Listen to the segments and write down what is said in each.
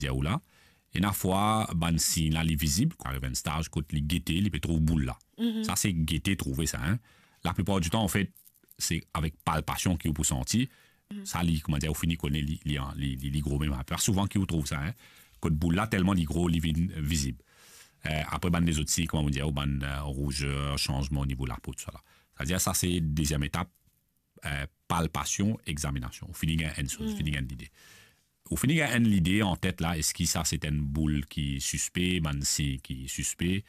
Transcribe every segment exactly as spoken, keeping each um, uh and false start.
dir ou la. Ena fwa, bann sign la, li vizib, kan ariv enn staz, kot li gete, li pe trouv boul la. Mhm. Sa, se gete, trouve sa, hein. Laplipar ditan, anfet, se avek palpasion ki ou pou santi. Mhm. Sa, li, kouma dir, ou fini kone li, li, li, li, li gro mem. Pa souvan ki ou trouv sa, hein. Kot boul la, telman li gro, li vinn vizib. Eh, apre, bann lezot sign, kouma mo dir, ou bann, eh, rouzer, sanzman o nivo lapo, tousala. Savedir, sa, se deziem etap, eh, palpasion, examinasion. Ou fini gagn enn soz, ou fini gagn enn lide. Ou fini gagn enn lide an tet la, eski sa se enn boul ki sispe, bann sign ki sispe.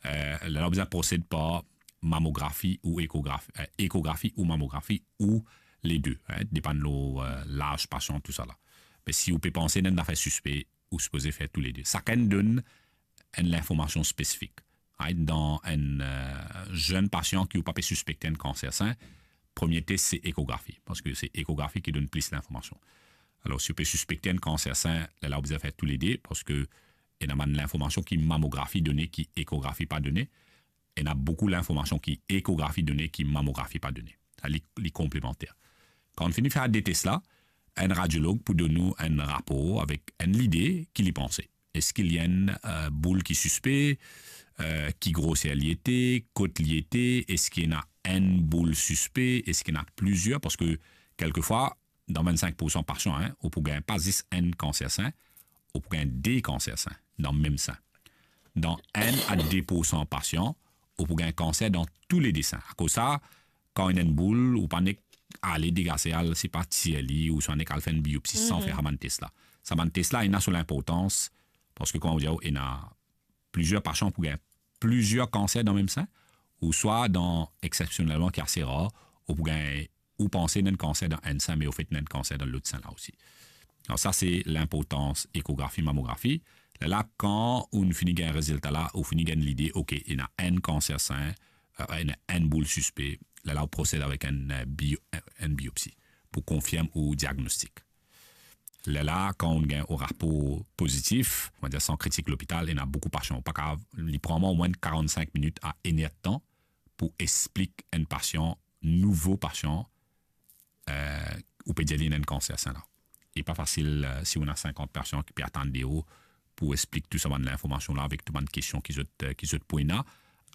Eh, la, ou bizin prosed par mamografi ou ekografi, eh, ekografi ou mamografi ou le de, hein, depann lor, eh, laz pasian, tousala. Me si ou pe panse ena enn zafer sispe, ou sipoze fer tou le de. Sakenn donn enn linformasion spesifik. Right? Dan enn, eh, zenn pasian ki ou pa pe sispekte enn kanser sin, premie tes se ekografi, parski se ekografi ki donn plis linformasion. Alor, si ou pe sispekte enn kanser sin, lerla ou bizin fer tou le de, parski ena bann linformasion ki mamografi done, ki ekografi pa done. Ena boukou linformasion ki ekografi done, ki mamografi pa done. Sa, li, li konplemanter. Kan ou fini fer de tes la, enn radiolog pou donn ou enn rapor avek enn lide ki li panse. Eski li enn, eh, boul ki sispe, eh, ki groser li ete, kot li ete, eski ena enn boul sispe, eski ena plizier, parski kelkefwa, dan vennsenk poursan pasian, hein, ou pou gagn pa zis enn kanser sin, ou pou gagn de kanser sin dan mem sin. Dan enn a de poursan pasian, ou pou gagn kanser dan tou le de sin. Akoz sa, kan ena enn boul, ou pa nek ale degaze al, sipa tir li, ouswa nek al fer enn biopsi san fer sa bann tes la. Sa bann tes la, ena so linportans, parski, kouma ou dir, ena plizier pasian pou gagn plizier kanser dan mem sin, ouswa dan, eksepsionelman, ki ase rar, ou pou gagn, ou panse ena enn kanser dan enn sin, me anfet ena enn kanser dan lot sin la osi. Alor sa, se linportans ekografi, mamografi. Lerla, kan ou fini gagn rezilta la, ou fini gagn lide, ok, ena enn kanser sin, eh, ena enn boul sispe, lerla ou prosed avek enn, eh, bio-, enn biopsi pou konfirm ou diagnostik. Lerla, kan ou gagn ou rapor pozitif, on va dir, san kritik lopital, ena boukou pasian. Pa kav, li pran mwa omwin karant-sink minit a enn er tan pou explik enn pasian, nouvo pasian, eh, ou pe dir li ena enn kanser sin la. E pa fasil, eh, si ou ena sinkant pasian ki pe atann de ou pou explik tou sa bann linformasion la avek tou bann kestion ki zot, eh, ki zot pou ena.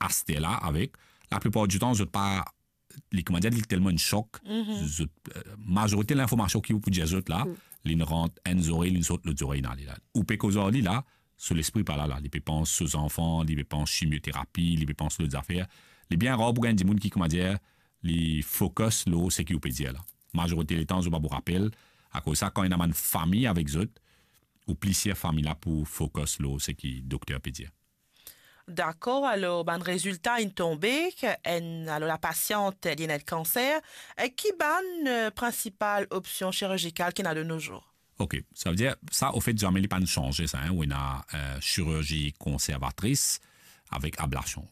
Aster la, avek, laplipar ditan, zot pa, li, kouma dir, li telman enn sok, zot, eh, mazorite linformasion ki ou pou dir zot la, li rant enn zorey, li sort lot zorey, ena li la. Ou pe koz ar li la, so lespri pa la la, li pe pans so zanfan, li pe pans simioterapi, li pe pans lot zafer. Li bien rar pou gagn dimoun ki, kouma dir, li focus lor seki ou pe dir la. Mazorite letan, zot pa pou rapel, akoz sa, kan ena bann fami avek zot, ou plizier fami la pou focus lor seki dokter pe dir. Dakor, alor, bann rezilta inn tonbe, ki enn, alor, lapasiant, li ena enn kanser, e ki bann, eh, prinsipal opsion chirizikal ki ena de nos jours? Ok, savedir, sa, anfet, zame li pa'nn sanze sa, hein, ou ena, eh, chirurzi konservatris avek ablasion.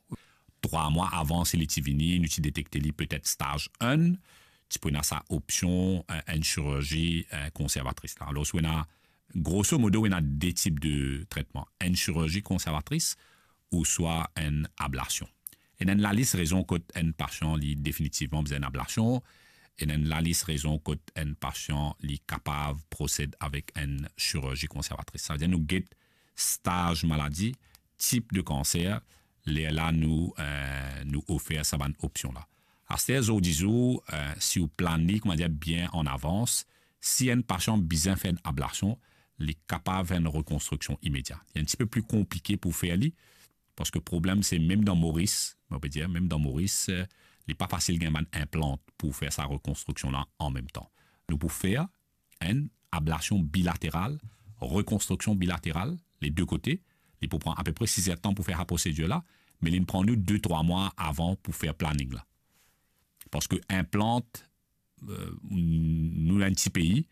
Trwa mwa avan, si li ti vini, nou ti detekte li petet staz enn, ti pou ena sa opsion, eh, enn chirurzi, eh, konservatris la. Alor, si ou ena, grosso modo, ou ena de tip de tretman. Enn chirurzi konservatris ouswa enn ablasion. Ena enn lalis rezon kot enn pasian, li definitivman bizin enn ablasion. Ena enn lalis rezon kot enn pasian, li kapav prosed avek enn chirurzi konservatris. Savedir nou get staz maladi, tip de kanser, lerla nou, eh, nou ofer sa bann opsion la. Aster, zordi zour, eh, si ou plann li, kouma dir, bien an avans, si enn pasian bizin fer enn ablasion, li kapav fer enn rekonstriksion imedia. Li enn tipe pli konplike pou fer li, parski problem se mem dan Moris, mo pe dir, mem dan Moris, eh, li pa fasil gagn bann inplant pou fer sa rekonstriksion la an mem tan. Nou pou fer enn ablasion bilateral, rekonstriksion bilateral, le de kote, li pou pran apepre sis er tan pou fer sa prosedir la, me li pran nou de, trwa mwa avan pou fer planning la. Parski inplant, eh, nou dan enn ti pei,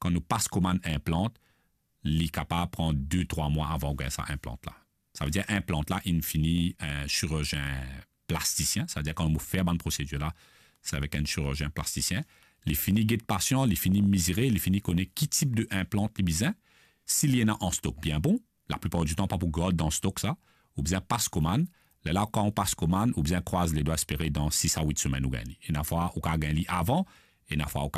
kan nou pas komann inplant, li kapav pran de, trwa mwa avan ou gagn sa inplant la. Savedir inplant la inn fini enn chirizien plastisien, savedir kan nou fer bann prosedir la, se avek enn chirizien plastisien. Li fini get pasian, li fini mizire, li fini kone ki tip de inplant li bizin. Si li ena an stok, bien bon, laplipar ditan pa pou gard dan stok sa, ou bizin pas komann. Lerla kan ou pas komann, ou bizin krwaz ledwa, espere dan sis a wit semenn ou gagn li. Ena fwa ou kav gagn li avan, ena fwa ou kav